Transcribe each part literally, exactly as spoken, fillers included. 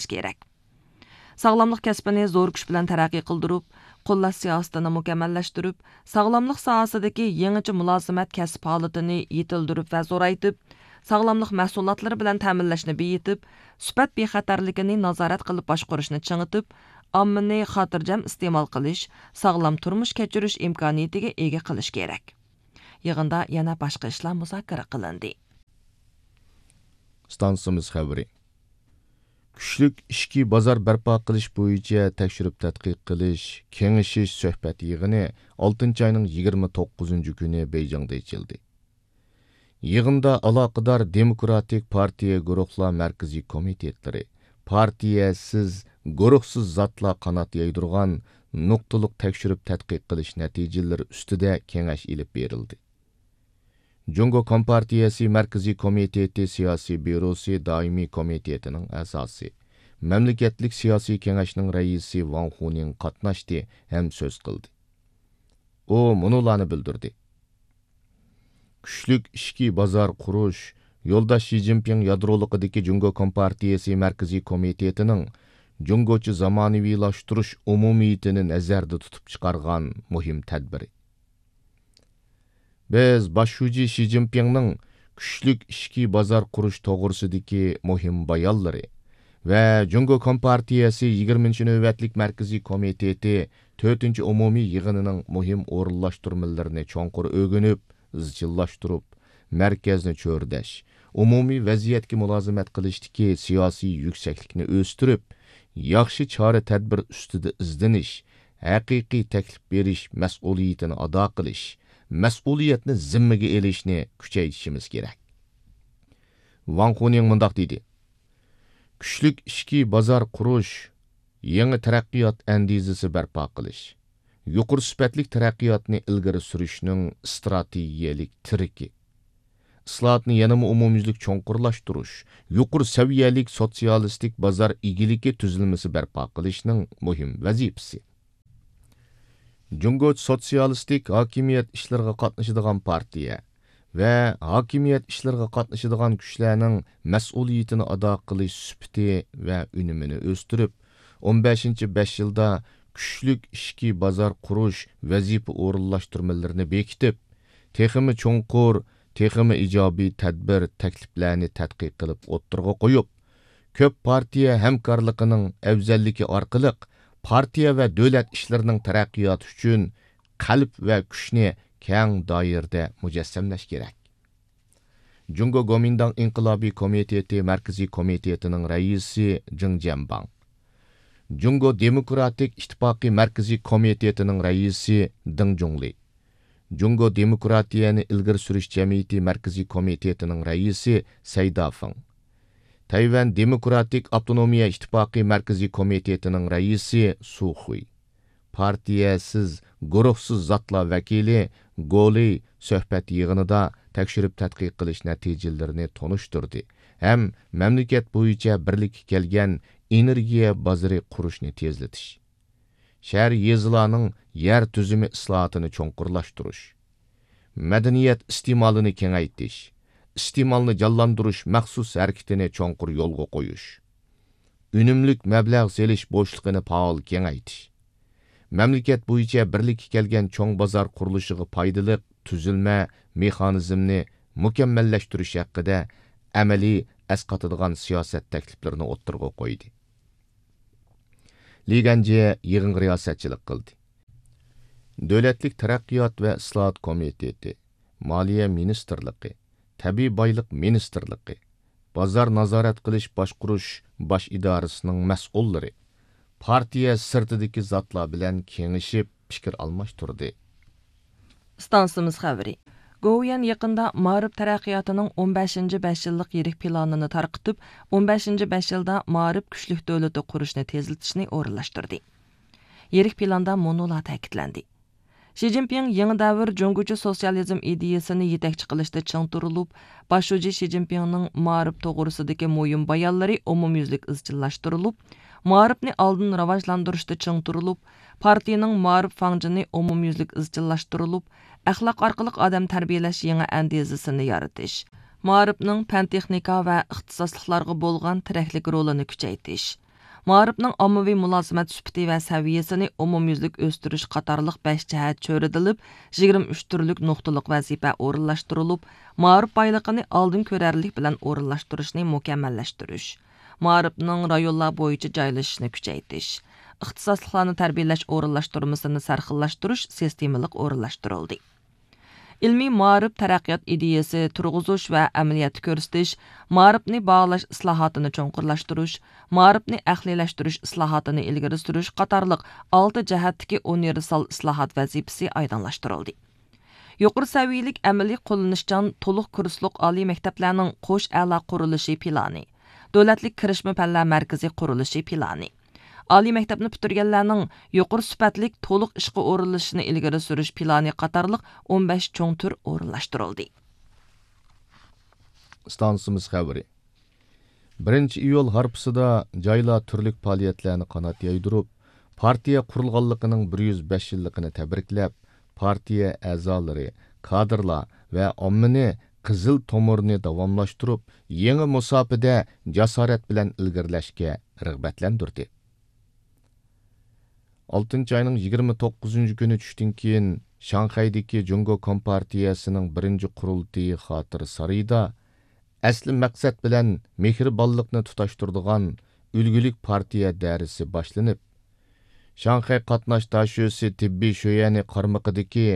كېرەك. ساغلاملىق كەسپىنى زور كۈچ بىلەن تەرەققىي قىلدۇرۇپ، قوللاش سىياسىتىنى مۇكەممەللەشتۈرۈپ، ساغلاملىق ساھەسىدىكى يېڭىچە مۇلازىمەت كەسىپ ھالىتىنى يېتىلدۈرۈپ ۋە زورايتىپ، ساغلاملىق مەھسۇلاتلىرى بىلەن تەمىنلەشنى بېيىتىپ، سۈپەت بىخەتەرلىكىنى نازارەت قىلىپ باشقۇرۇشنى چىڭىتىپ، ئاممىنى خاتىرجەم ئىستېمال قىلىش، ساغلام تۇرمۇش كەچۈرۈش ئىمكانىيىتىگە ئىگە قىلىش كېرەك. يىغىندا يەنە باشقا ئىشلار مۇزاكىرە قىلىندى. ئىستانسىمىز خەۋىرى. كۈچلۈك ئىچكى بازار بەرپا قىلىش بويىچە تەكشۈرۈپ تەتقىق قىلىش، كېڭىشىش سۆھبەت يىغىنى ئالتىنچى ئاينىڭ يىگىرمە توققۇزىنچى كۈنى بېيجىڭدا ئېچىلدى. يىغىندا ئالاقىدار دېموكراتىك پارتىيە گۇرۇھلار مەركىزىي كومىتېتلىرى، پارتىيەسىز، گۇرۇھسىز زاتلار قانات يايدۇرغان نۇقتىلىق تەكشۈرۈپ تەتقىق قىلىش نەتىجىلىرى ئۈستىدە كېڭەش ئېلىپ بېرىلدى. جۇڭگو كومپارتىيەسى مەركىزىي كومىتېتى سىياسىي بيۇروسى دائىمىي كومىتېتىنىڭ ئەزاسى، مەملىكەتلىك سىياسىي كېڭەشنىڭ رەئىسى ۋاڭ خۇنىڭ قاتناشتى ھەم سۆز قىلدى. ئۇ مۇنۇلارنى بىلدۈردى. كۈچلۈك ئىچكى بازار قۇرۇش، يولداش شى جىنپىڭ يادرولۇقىدىكى جۇڭگو كومپارتىيەسى مەركىزىي كومىتېتىنىڭ جۇڭگوچە زامانىۋىلاشتۇرۇش ئومۇمىيىتىنى نەزەردە تۇتۇپ چىقارغان مۇھىم تەدبىرى. بىز باش شۇجى شى جىنپىڭنىڭ كۈچلۈك ئىچكى بازار قۇرۇش توغرىسىدىكى مۇھىم بايانلىرى ۋە جۇڭگو كومپارتىيەسى يىگىرمىنچى نۆۋەتلىك مەركىزىي كومىتېتى تۆتىنچى ئومۇمىي يىغىنىنىڭ مۇھىم ئورۇنلاشتۇرمىلىرىنى چوڭقۇر ئۆگىنىپ، ئىزچىللاشتۇرۇپ، مەركەزنى چۆرىدەش، ئومۇمىي ۋەزىيەتكە مۇلازىمەت قىلىشتىكى سىياسىي يۈكسەكلىكنى ئۆستۈرۈپ، ياخشى چارە-تەدبىر ئۈستىدە ئىزدىنىش، ھەقىقىي تەكلىپ بېرىش مەسئۇلىيىتىنى ئادا قىلىش، مەسئۇلىيەتنى زىممىگە ئېلىشنى كۈچەيتىشىمىز كېرەك. ۋاڭ خۇنىڭ مۇنداق دېدى: كۈچلۈك ئىچكى بازار قۇرۇش، يېڭى تەرەققىيات ئەندىزىسى بەرپا قىلىش، يۇقىرى سۈپەتلىك تەرەققىياتنى ئىلگىرى سۈرۈشنىڭ ئىستراتېگىيەلىك تىرىكى، ئىسلاھاتنى يەنىمۇ ئومۇميۈزلۈك چوڭقۇرلاشتۇرۇش، يۇقىرى سەۋىيەلىك سوتسىيالىستىك بازار ئىگىلىكى تۈزۈلمىسى بەرپا قىلىشنىڭ مۇھىم ۋەزىپىسى. جۇڭگو سوتسىيالىستىك ھاكىمىيەت ئىشلىرىغا قاتنىشىدىغان پارتىيە ۋە ھاكىمىيەت ئىشلىرىغا قاتنىشىدىغان كۈچلەرنىڭ مەسئۇلىيىتىنى ئادا قىلىش سۈپىتى ۋە ئۈنۈمىنى ئۆستۈرۈپ، ئون بەشىنچى بەش يىلدا كۈچلۈك ئىچكى بازار قۇرۇش ۋەزىپە ئورۇنلاشتۇرمىلىرىنى بېكىتىپ، تېخىمۇ چوڭقۇر، تېخىمۇ ئىجابىي تەدبىر، تەكلىپلەرنى تەتقىق قىلىپ ئوتتۇرىغا قويۇپ، كۆپ پارتىيە ھەمكارلىقىنىڭ ئەۋزەللىكى ئارقىلىق پارتىيە ۋە دۆلەت ئىشلىرىنىڭ تەرەققىياتى ئۈچۈن قەلب ۋە كۈچنى كەڭ دائىرىدە مۇجەسسەملەش كېرەك. جۇڭگو گومىنداڭ ئىنقىلابىي كومىتېتى مەركىزىي كومىتېتىنىڭ رەئىسى جېڭ جيەنباڭ، جۇڭگو دېموكراتىك ئىتتىپاقى مەركىزىي كومىتېتىنىڭ رەئىسى دېڭ جۇڭلى، جۇڭگو دېموكراتىيەنى ئىلگىرى سۈرۈش جەمئىيىتى مەركىزىي كومىتېتىنىڭ رەئىسى سەي دافېڭ، تەيۋەن دېموكراتىك ئاپتونومىيە ئىتتىپاقى مەركىزىي كومىتېتىنىڭ رەئىسى سۇ خۇي، پارتىيەسىز، گۇرۇھسىز زاتلار ۋەكىلى گولى سۆھبەت يىغىنىدا تەكشۈرۈپ تەتقىق قىلىش نەتىجىلىرىنى تونۇشتۇردى ھەم مەملىكەت بويىچە بىرلىككە كەلگەن ئېنېرگىيە بازىرى قۇرۇشنى تېزلىتىش، شەھەر، يېزىلارنىڭ يەر تۈزۈمى ئىسلاھاتىنى چوڭقۇرلاشتۇرۇش، مەدەنىيەت ئىستېمالىنى كېڭەيتىش، ئىستېمالنى جانلاندۇرۇش مەخسۇس ھەرىكىتىنى چوڭقۇر يولغا قويۇش، ئۈنۈملۈك مەبلەغ سېلىش بوشلۇقىنى پائال كېڭەيتىش، مەملىكەت بويىچە بىرلىككە كەلگەن چوڭ بازار قۇرۇلۇشىغا پايدىلىق تۈزۈلمە، مېخانىزمنى مۇكەممەللەشتۈرۈش ھەققىدە ئەمەلىي ئەسقاتىدىغان سىياسەت تەكلىپلىرىنى ئوتتۇرىغا قويدى. لى گەنجې يىغىنغا رىياسەتچىلىك قىلدى. دۆلەتلىك تەرەققىيات ۋە ئىسلاھات كومىتېتى، مالىيە مىنىستىرلىقى، تەبىئىي بايلىق مىنىستىرلىقى، بازار نازارەت قىلىش باشقۇرۇش باش ئىدارىسىنىڭ مەسئۇللىرى، پارتىيە سىرتىدىكى زاتلار بىلەن كېڭىشىپ پىكىر ئالماشتۇردى. ئىستانسىمىز خەۋىرى. گوۋۇيۈەن يېقىندا مائارىپ تەرەققىياتىنىڭ ئون بەشىنچى بەش يىللىق يىرىك پىلانىنى تارقىتىپ، ئون بەشىنچى بەش يىلدا مائارىپ كۈچلۈك دۆلىتى قۇرۇشنى تېزلىتىشنى ئورۇنلاشتۇردى. يىرىك پىلاندا مۇنۇلار تەكىتلەندى. شى جىنپىڭ يېڭى دەۋر جۇڭگوچە سوتسىيالىزم ئىدىيىسىنى يېتەكچى قىلىشتا چىڭ تۇرۇلۇپ، باش شۇجى شى جىنپىڭنىڭ مائارىپ توغرىسىدىكى مۇھىم بايانلىرى ئومۇميۈزلۈك ئىزچىللاشتۇرۇلۇپ، مائارىپنى ئالدىن راۋاجلاندۇرۇشتا چىڭ تۇرۇلۇپ، پارتىيىنىڭ مائارىپ فاڭجېنى ئومۇميۈزلۈك ئىزچىللاشتۇرۇلۇپ، ئەخلاق ئارقىلىق ئادەم تەربىيەلەش يېڭى ئەندىزىسىنى يارىتىش، مائارىپنىڭ پەن-تېخنىكا ۋە ئىختىساسلىقلارغا بولغان تىرەكلىك رولىنى كۈچەيتىش، مائارىپنىڭ ئاممىۋى مۇلازىمەت سۈپىتى ۋە سەۋىيەسىنى ئومۇميۈزلۈك ئۆستۈرۈش قاتارلىق بەش جەھەت چۆرىدىلىپ، يىگىرمە ئۈچ تۈرلۈك نۇقتىلىق ۋەزىپە ئورۇنلاشتۇرۇلۇپ، مائارىپ بايلىقىنى ئالدىن كۆرەرلىك بىلەن ئورۇنلاشتۇرۇشنى مۇكەممەللەشتۈرۈش، مائارىپنىڭ رايونلار بويىچە جايلىشىشىنى كۈچەيتىش، ئىختىساسلىقلارنى تەربىيەلەش ئورۇنلاشتۇرمىسىنى سەرخىللاشتۇرۇش سىستېمىلىق ئورۇنلاشتۇرۇلدى. ئىلمىي مائارىپ تەرەققىيات ئىدىيەسى تۇرغۇزۇش ۋە ئەمەلىيەتتە كۆرسىتىش، مائارىپنى باھالاش ئىسلاھاتىنى چوڭقۇرلاشتۇرۇش، مائارىپنى ئەقلىيلەشتۈرۈش ئىسلاھاتىنى ئىلگىرى سۈرۈش قاتارلىق ئالتە جەھەتتىكى ئۇنىۋېرسال ئىسلاھات ۋەزىپىسى ئايدىڭلاشتۇرۇلدى. يۇقىرى سەۋىيەلىك ئەمەلىي قوللىنىشچان تولۇق كۇرسلۇق ئالىي مەكتەپلەرنىڭ قوش ئەلا قۇرۇلۇشى پىلانى، دۆلەتلىك كىرىشمە پەنلەر مەركىزى قۇرۇلۇشى پىلانى، ئالىي مەكتەپنى پۈتتۈرگەنلەرنىڭ يۇقىرى سۈپەتلىك تولۇق ئىشقا ئورۇنلىشىشىنى ئىلگىرى سۈرۈش پىلانى قاتارلىق ئون بەش چوڭ تۈر ئورۇنلاشتۇرۇلدى. ئىستانسىمىز خەۋىرى. بىرىنچى ئىيۇل ھارپىسىدا جايلار تۈرلۈك پائالىيەتلەرنى قانات يايدۇرۇپ، پارتىيە قۇرۇلغانلىقىنىڭ بىر يۈز بەش يىللىقىنى تەبرىكلەپ، پارتىيە ئەزالىرى، كادىرلار ۋە ئاممىنى قىزىل تومۇرنى داۋاملاشتۇرۇپ، يېڭى مۇساپىدە جاسارەت بىلەن ئىلگىرىلەشكە رىغبەتلەندۈردى. ئالتىنچى ئاينىڭ يىگىرمە توققۇزىنچى كۈنى چۈشتىن كېيىن، شاڭخەيدىكى جۇڭگو كومپارتىيەسىنىڭ بىرىنچى قۇرۇلتىيى خاتىرە سارىيىدا ئەسلى مەقسەت بىلەن مېھرىبانلىقنى تۇتاشتۇرىدىغان ئۈلگىلىك پارتىيە دەرسى باشلىنىپ، شاڭخەي قاتناش داشۆسى تېببىي شۆيەنى قارمىقىدىكى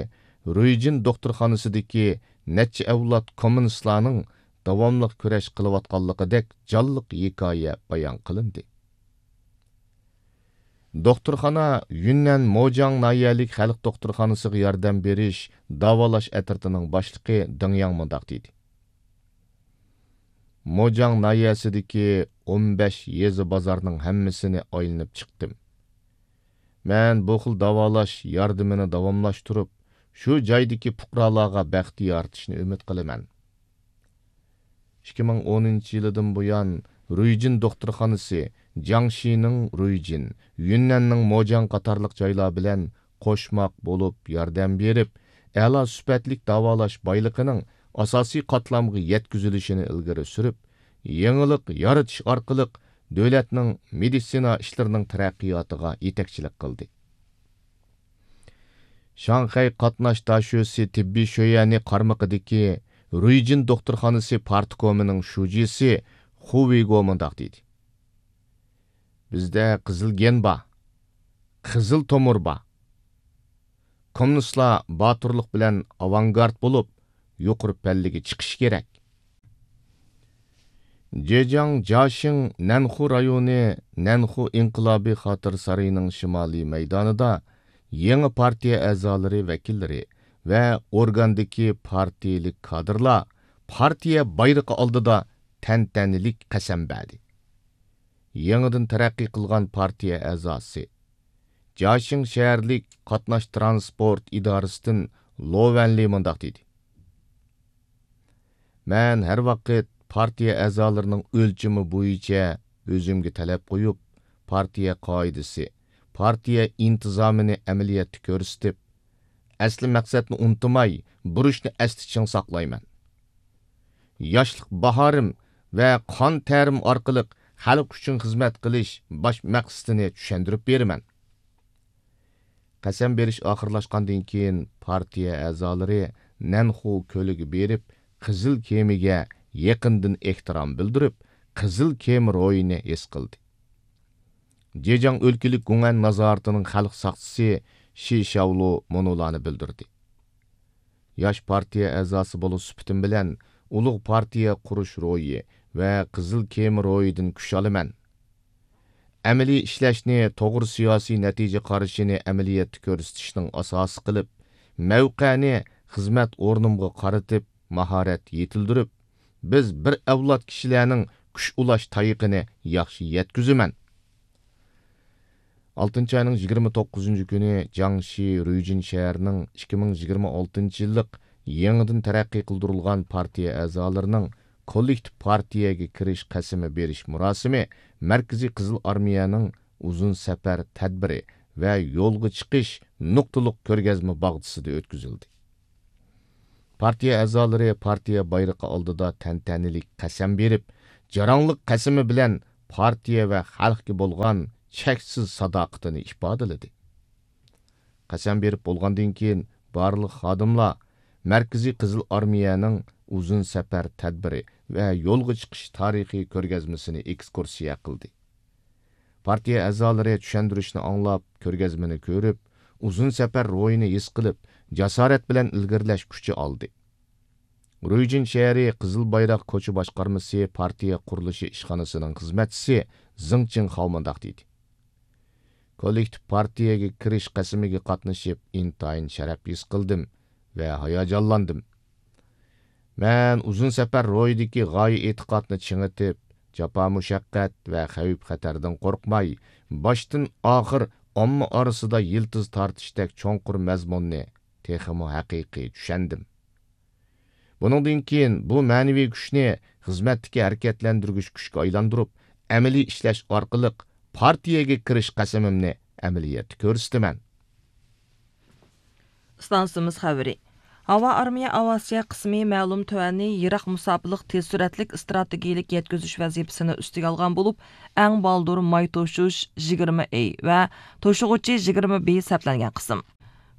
رۇيجىن دوختۇرخانىسىدىكى نەچچە ئەۋلاد كوممۇنىستلارنىڭ داۋاملىق كۈرەش قىلىۋاتقانلىقىدەك جانلىق ھېكايە بايان قىلىندى. دوختۇرخانا يۈننەن موجاڭ ناھىيەلىك خەلق دوختۇرخانىسىغا ياردەم بېرىش، داۋالاش ئەترىتىنىڭ باشلىقى دېڭ ياڭ مۇنداق دېدى: موجاڭ ناھىيەسىدىكى ئون بەش يېزا بازارنىڭ ھەممىسىنى ئايلىنىپ چىقتىم. مەن بۇ خىل داۋالاش ياردىمىنى داۋاملاشتۇرۇپ، شۇ جايدىكى پۇقرالارغا بەخت يارىتىشنى ئۈمىد قىلىمەن. ئىككى مىڭ ئونىنچى يىلىدىن بۇيان، رۇيجىن دوختۇرخانىسى جياڭشىنىڭ رۇيجىن، يۈننەننىڭ موجاڭ قاتارلىق جايلار بىلەن قوشماق بولۇپ ياردەم بېرىپ، ئەلا سۈپەتلىك داۋالاش بايلىقىنىڭ ئاساسىي قاتلامغا يەتكۈزۈلۈشىنى ئىلگىرى سۈرۈپ، يېڭىلىق يارىتىش ئارقىلىق دۆلەتنىڭ مېدىتسىنا ئىشلىرىنىڭ تەرەققىياتىغا يېتەكچىلىك قىلدى. شاڭخەي قاتناش داشۆسى تېببىي شۆيەنى قارمىقىدىكى رۇيجىن دوختۇرخانىسى پارتكومىنىڭ شۇجىسى خۇ ۋىگو مۇنداق دېدى: بىزدە قىزىل گېن بار، قىزىل تومۇر بار. كوممۇنىستلار باتۇرلۇق بىلەن ئاۋانگارت بولۇپ، يۇقىرى پەللىگە چىقىشى كېرەك. جېجياڭ جياشىڭ نەنخۇ رايونى نەنخۇ ئىنقىلابىي خاتىرە سارىيىنىڭ شىمالىي مەيدانىدا يېڭى پارتىيە ئەزالىرى، ۋەكىللىرى ۋە ئورگاندىكى پارتىيىلىك كادىرلار پارتىيە بايرىقى ئالدىدا تەنتەنىلىك قەسەم بەردى. يېڭىدىن تەرەققىي قىلغان پارتىيە ئەزاسى، جياشىڭ شەھەرلىك قاتناش تىرانسپورت ئىدارىسىدىن لو ۋەنلى مۇنداق دېدى: مەن ھەر ۋاقىت پارتىيە ئەزالىرىنىڭ ئۆلچىمى بويىچە ئۆزۈمگە تەلەپ قويۇپ، پارتىيە قائىدىسى، پارتىيە ئىنتىزامىنى ئەمەلىيەتتە كۆرسىتىپ، ئەسلى مەقسەتنى ئۇنتۇماي، بۇرچنى ئەستە چىڭ ساقلايمەن. ياشلىق باھارىم ۋە قان تەرىم ئارقىلىق خەلق ئۈچۈن خىزمەت قىلىش باش مەقسىتىنى چۈشەندۈرۈپ بېرىمەن. قەسەم بېرىش ئاخىرلاشقاندىن كېيىن، پارتىيە ئەزالىرى نەنخۇ كۆلىگە بېرىپ، قىزىل كېمىگە يېقىندىن ئېھتىرام بىلدۈرۈپ، قىزىل كېمە روھىنى ھېس قىلدى. جېجياڭ ئۆلكىلىك گۇڭئەن نازارىتىنىڭ خەلق ساقچىسى شى شياۋلۇ مۇنۇلارنى بىلدۈردى: ياش پارتىيە ئەزاسى بولۇش سۈپىتىم بىلەن، ئۇلۇغ پارتىيە قۇرۇش روھى ۋە قىزىل كېمە روھىدىن كۈچ ئالىمەن. ئەمەلىي ئىشلەشنى، توغرا سىياسىي نەتىجە قارىشىنى ئەمەلىيەتتە كۆرسىتىشنىڭ ئاساسى قىلىپ، مەۋقەنى خىزمەت ئورنۇمغا قارىتىپ، ماھارەت يېتىلدۈرۈپ، بىز بىر ئەۋلاد كىشىلەرنىڭ كۈچ ئۇلاش تايىقىنى ياخشى يەتكۈزىمەن. ئالتىنچى ئاينىڭ يىگىرمە توققۇزىنچى كۈنى جياڭشى رۇيجىن شەھىرىنىڭ ئىككى مىڭ يىگىرمە ئالتىنچى يىللىق يېڭىدىن تەرەققىي قىلدۇرۇلغان پارتىيە ئەزالىرىنىڭ كوللېكتىپ پارتىيەگە كىرىش قەسىمى بېرىش مۇراسىمى مەركىزىي قىزىل ئارمىيەنىڭ ئۇزۇن سەپەر تەدبىرى ۋە يولغا چىقىش نۇقتىلىق كۆرگەزمە باغچىسىدا ئۆتكۈزۈلدى. پارتىيە ئەزالىرى پارتىيە بايرىقى ئالدىدا تەنتەنىلىك قەسەم بېرىپ، جاراڭلىق قەسىمى بىلەن پارتىيە ۋە خەلقكە بولغان چەكسىز ساداقىتىنى ئىپادىلىدى. قەسەم بېرىپ بولغاندىن كېيىن، بارلىق خادىملار مەركىزىي قىزىل ئارمىيەنىڭ ئۇزۇن سەپەر تەدبىرى ۋە يولغا چىقىش تارىخىي كۆرگەزمىسىنى ئېكسكۇرسىيە قىلدى. پارتىيە ئەزالىرى چۈشەندۈرۈشنى ئاڭلاپ، كۆرگەزمىنى كۆرۈپ، ئۇزۇن سەپەر روھىنى ھېس قىلىپ، جاسارەت بىلەن ئىلگىرىلەش كۈچى ئالدى. رۇيجىن شەھىرى قىزىل بايراق كوچا باشقارمىسى پارتىيە قۇرۇلۇشى ئىشخانىسىنىڭ خىزمەتچىسى زېڭ چىڭخاۋ مۇنداق دېدى: كوللېكتىپ پارتىيەگە كىرىش قەسىمىگە قاتنىشىپ، ئىنتايىن شەرەپ ھېس قىلدىم ۋە ھاياجانلاندىم. مەن ئۇزۇن سەپەر روھىدىكى غايە ئېتىقادنى چىڭىتىپ، جاپا مۇشەققەت ۋە خەۋپ خەتەردىن قورقماي، باشتىن ئاخىر ئامما ئارىسىدا يىلتىز تارتىشتەك چوڭقۇر مەزمۇننى تېخىمۇ ھەقىقىي چۈشەندىم. بۇنىڭدىن كېيىن بۇ مەنىۋى كۈچنى خىزمەتتىكى ھەرىكەتلەندۈرگۈچ كۈچكە ئايلاندۇرۇپ، ئەمەلىي ئىشلەش ئارقىلىق پارتىيەگە كىرىش قەسىمىمنى ئەمەلىيەتتە كۆرسىتىمەن. ئىستانسىمىز خەۋىرى. ھاۋا ئارمىيە ئاۋىئاتسىيە قىسمى مەلۇم تۆۋەننى يىراق مۇساپىلىق تېز سۈرئەتلىك ئىستراتېگىيىلىك يەتكۈزۈش ۋەزىپىسىنى ئۈستىگە ئالغان بولۇپ، ئەڭ بالدۇر ماي توشۇش يىگىرمە ئېي ۋە توشۇغۇچى يىگىرمە بى سەپلەنگەن قىسىم.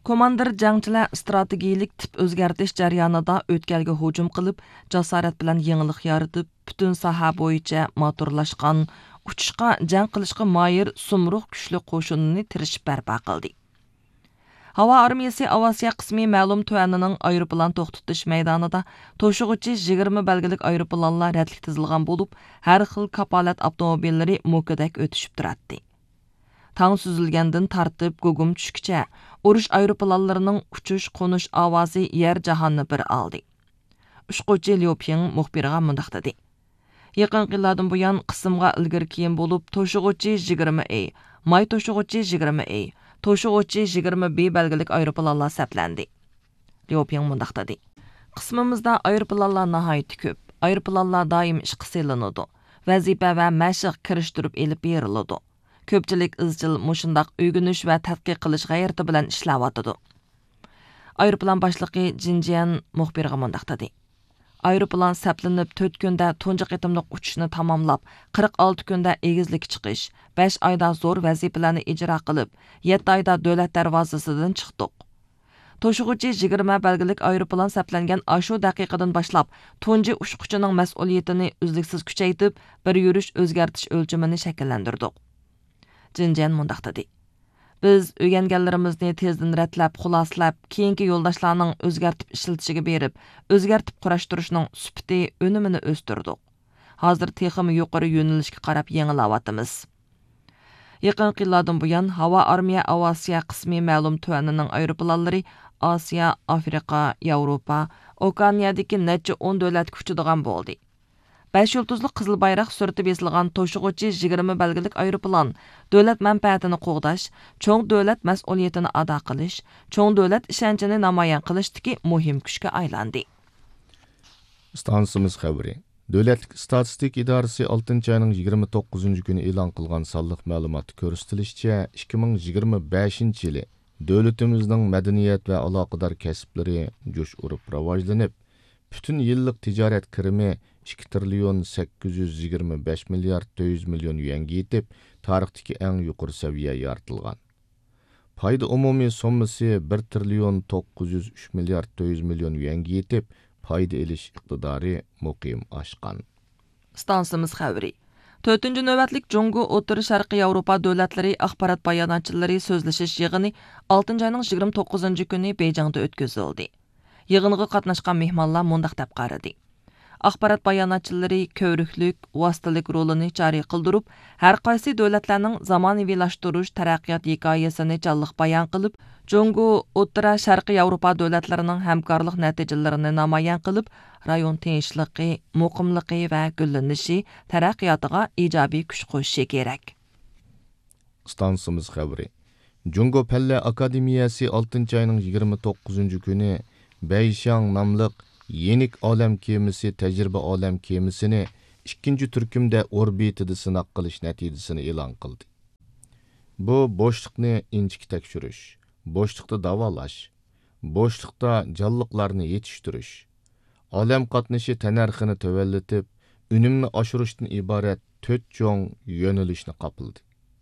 كوماندىر جەڭچىلەر ئىستراتېگىيىلىك تىپ ئۆزگەرتىش جەريانىدا ئۆتكەلگە ھۇجۇم قىلىپ، جاسارەت بىلەن يېڭىلىق يارىتىپ، پۈتۈن ساھە بويىچە موتورلاشقان، ئۇچۇشقا، جەڭ قىلىشقا ماھىر سۇمرۇغ كۈچلۈك قوشۇنىنى تىرىشىپ بەرپا قىلدى. ھاۋا ئارمىيىسى ئاۋىئاتسىيە قىسمى مەلۇم تۆۋەننىڭ ئايروپىلان توختىتىش مەيدانىدا توشۇغۇچى يىگىرمە بەلگىلىك ئايروپىلانلار رەتلىك تىزىلغان بولۇپ، ھەر خىل كاپالەت ئاپتوموبىللىرى موكىدەك ئۆتۈشۈپ تۇراتتى. تاڭ سۈزۈلگەندىن تارتىپ گۇگۇم چۈشكىچە، ئۇرۇش ئايروپىلانلىرىنىڭ ئۇچۇش-قونۇش ئاۋازى يەر-جاھاننى بىر ئالدى. ئۇچقۇچى ليۇ پىڭ مۇخبىرغا مۇنداق دېدى: يېقىنقى يىللاردىن بۇيان، قىسىمغا ئىلگىرى كېيىن بولۇپ، توشۇغۇچى يىگىرمە ئېي، ماي توشۇغۇچى يىگىرمە ئېي، توشۇغۇچى يىگىرمە بى بەلگىلىك ئايروپىلانلار سەپلەندى. ليۇ پىڭ مۇنداق دېدى: قىسمىمىزدا ئايروپىلانلار ناھايىتى كۆپ، ئايروپىلانلار دائىم ئىشقا سېلىنىدۇ، ۋەزىپە ۋە مەشىق كىرىشتۈرۈپ ئېلىپ بېرىلىدۇ. كۆپچىلىك ئىزچىل مۇشۇنداق ئۆگىنىش ۋە تەتقىق قىلىش غەيرىتى بىلەن ئىشلەۋاتىدۇ. ئايروپىلان باشلىقى جىن جيەن مۇخبىرغا مۇنداق دېدى: ئايروپىلان سەپلىنىپ، تۆت كۈندە تۇنجى قېتىملىق ئۇچۇشنى تاماملاپ، قىرىق ئالتە كۈندە ئېگىزلىككە چىقىش، بەش ئايدا زور ۋەزىپىلەرنى ئىجرا قىلىپ، يەتتە ئايدا دۆلەت دەرۋازىسىدىن چىقتۇق. توشۇغۇچى يىگىرمە بەلگىلىك ئايروپىلان سەپلەنگەن ئاشۇ دەقىقىدىن باشلاپ، تۇنجى ئۇچقۇچىنىڭ مەسئۇلىيىتىنى ئۈزلۈكسىز كۈچەيتىپ، بىر يۈرۈش ئۆزگەرتىش ئۆلچىمىنى شەكىللەندۈردۇق. جىن جيەن مۇنداق دېدى: بىز ئۆگەنگەنلىرىمىزنى تېزدىن رەتلەپ، خۇلاسىلەپ، كېيىنكى يولداشلارنىڭ ئۆزگەرتىپ ئىشلىتىشىگە بېرىپ، ئۆزگەرتىپ قۇراشتۇرۇشنىڭ سۈپىتى، ئۈنۈمىنى ئۆستۈردۇق. ھازىر تېخىمۇ يۇقىرى يۆنىلىشكە قاراپ يېڭىلاۋاتىمىز. يېقىنقى يىللاردىن بۇيان، ھاۋا ئارمىيە ئاۋىئاتسىيە قىسمى مەلۇم تۆۋەننىڭ ئايروپىلانلىرى ئاسىيا، ئافرىقا، ياۋروپا، ئوكېئانىيەدىكى نەچچە ئون دۆلەتكە ئۇچىدىغان بولدى. بەش يۇلتۇزلۇق قىزىل بايراق سۈرىتى بېسىلغان توشۇغۇچى يىگىرمە بەلگىلىك ئايروپىلان دۆلەت مەنپەئەتىنى قوغداش، چوڭ دۆلەت مەسئۇلىيىتىنى ئادا قىلىش، چوڭ دۆلەت ئىشەنچىنى نامايان قىلىشتىكى مۇھىم كۈچكە ئايلاندى. ئىستانسىمىز خەۋىرى. دۆلەتلىك ئىستاتىستىكا ئىدارىسى ئالتىنچى ئاينىڭ يىگىرمە توققۇزىنچى كۈنى ئېلان قىلغان سانلىق مەلۇماتتا كۆرسىتىلىشىچە، ئىككى مىڭ يىگىرمە بەشىنچى يىلى دۆلىتىمىزنىڭ مەدەنىيەت ۋە ئالاقىدار كەسىپلىرى جۇش ئۇرۇپ راۋاجلىنىپ، پۈتۈن يىللىق تىجارەت كىرىمى ئىككى تىرىليون سەككىز يۈز يىگىرمە بەش مىليارد تۆت يۈز مىليون يۈەنگە يېتىپ، تارىختىكى ئەڭ يۇقىرى سەۋىيە يارىتىلغان. پايدا ئومۇمىي سوممىسى بىر تىرىليون توققۇز يۈز ئۈچ مىليارد تۆت يۈز مىليون يۈەنگە يېتىپ، پايدا ئېلىش ئىقتىدارى مۇقىم ئاشقان. ئىستانسىمىز خەۋىرى. تۆتىنچى نۆۋەتلىك جۇڭگو ئوتتۇرا شەرقىي ياۋروپا دۆلەتلىرى ئاخبارات باياناتچىلىرى سۆزلىشىش يىغىنى ئالتىنچى ئاينىڭ يىگىرمە توققۇزىنچى كۈنى بېيجىڭدا ئۆتكۈزۈلدى. يىغىنغا قاتناشقان مېھمانلار مۇنداق دەپ قارىدى: ئاخبارات باياناتچىلىرى كۆۋرۈكلۈك، ۋاسىتىلىك رولىنى جارى قىلدۇرۇپ، ھەر قايسى دۆلەتلەرنىڭ زامانىۋىلاشتۇرۇش تەرەققىيات ھېكايىسىنى جانلىق بايان قىلىپ، جۇڭگو ئوتتۇرا شەرقىي ياۋروپا دۆلەتلىرىنىڭ ھەمكارلىق نەتىجىلىرىنى نامايان قىلىپ، رايون تىنچلىقى، مۇقىملىقى ۋە گۈللىنىشى تەرەققىياتىغا ئىجابىي كۈچ قوشۇشى كېرەك. ئىستانسىمىز خەۋىرى. جۇڭگو پەنلەر ئاكادېمىيەسى ئالتىنچى ئاينىڭ يىگىرمە توققۇزىنچى كۈنى بەيشياڭ ناملىق يېنىك ئالەم كېمىسى تەجرىبە ئالەم كېمىسىنى ئىككىنچى تۈركۈمدە ئوربىتىدا سىناق قىلىش نەتىجىسىنى ئېلان قىلدى. بۇ بوشلۇقنى ئىنچىكە تەكشۈرۈش، بوشلۇقتا داۋالاش، بوشلۇقتا جانلىقلارنى يېتىشتۈرۈش، ئالەم قاتنىشى تەننەرخىنى تۆۋەنلىتىپ، ئۈنۈمنى ئاشۇرۇشتىن ئىبارەت تۆت چوڭ يۆنىلىشنى قاپلىدى.